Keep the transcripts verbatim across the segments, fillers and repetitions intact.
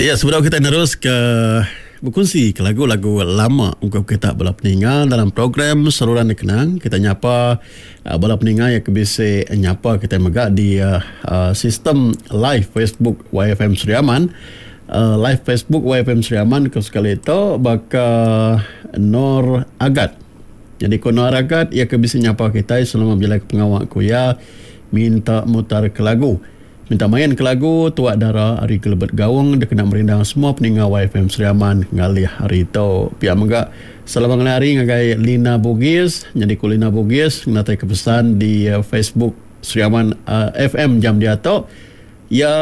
Ya, sebedau kita nerus ke bekunsi ke lagu-lagu lama ungkup kita bala peninga dalam program Seruran Dikenang, kita nyapa uh, bala peninga yang ke bisi nyapa kita mega di uh, uh, sistem live Facebook Y F M Sri Aman. Uh, live Facebook Y F M Sri Aman ke sekali itu baka Nor Agat. Jadi ko Nor Agat ia ke bisi nyapa kita selama bila pengawak ku ya minta mutar ke lagu. Minta main ke lagu Tuak Dara ari Gelebet Gaung dia kena merindang semua peninga Y F M Sri Aman ngalih hari tu. Pia mega selamat ngalih hari ngagai Lina Bugis. Jadi ku Lina Bugis ngatai ke pesan di uh, Facebook Sri Aman uh, F M jam dia tu. Ya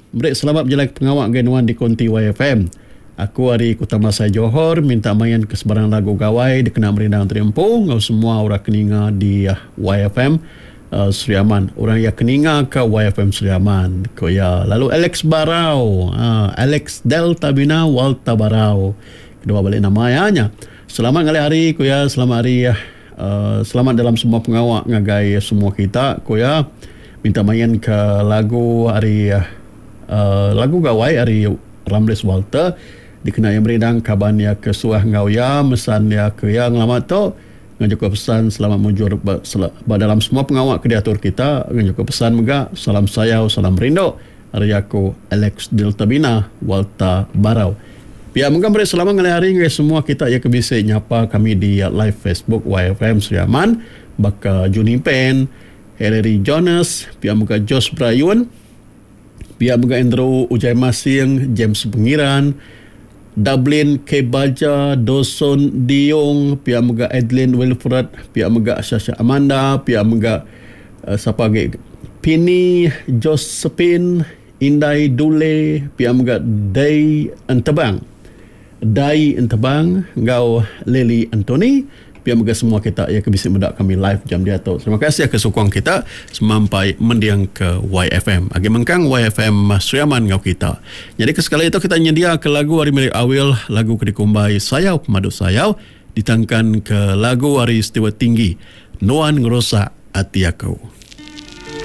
beri selamat berjalan ke pengawak ngagai nuan di konti Y F M. Aku ari Kota Masai Johor minta main ke sebarang lagu gawai dia kena merindang terimpu ngau semua orang keninga di uh, Y F M Uh, Sri Aman. Orang yang keninga ke Y F M Sri Aman. Ko ya. Lalu Alex Barau, uh, Alex Delta Bina Walta Barau. Kedua balik nama ya nya. Selamat ngalih hari ko ya, selamat hari uh, selamat dalam semua pengawak ngagai semua kita ko ya. Minta main ke lagu hari uh, lagu gawai hari Ramles Walter dikena yang merindang kaban ya ke suah ngau ya mesan ya ke yang lama tu. Dengan juga pesan selamat mujur ba, sel, ba dalam semua pengawak kediatur kita. Dengan juga pesan mega salam sayau salam rindu hari aku Alex Delta Bina Walta Barau. Pihak mega beri selamat ngalih hari ngai semua kita yang kebisi nyapa kami di live Facebook Y F M Sri Aman baka Juni Pen, Hillary Jonas, pihak mega Josh Brayun, pihak mega Andrew Ujai Masing, James Pengiran, Dublin K. Baja, Dawson Diong, pihak mega Adeline Wilfred, pihak mega Sasha Amanda, pihak mega uh, siapa lagi? Pini Josephine, Indai Dule, pihak mega Day Entebang, Dai Entebang, ngau Lily Anthony, pihak mega semua kita yang kebisi mendak kami live jam dia tu. Terima kasih ke sokong kita semampai mendiang ke Y F M. Agi mengkang Y F M Sri Aman ngau kita. Jadi ke sekali itu kita nyedia ke lagu hari milik Awil, lagu ke dikumbai Sayau Pemadu Sayau, ditangkan ke lagu hari Stewart Tinggi, Nuan Ngerosak Ati Aku.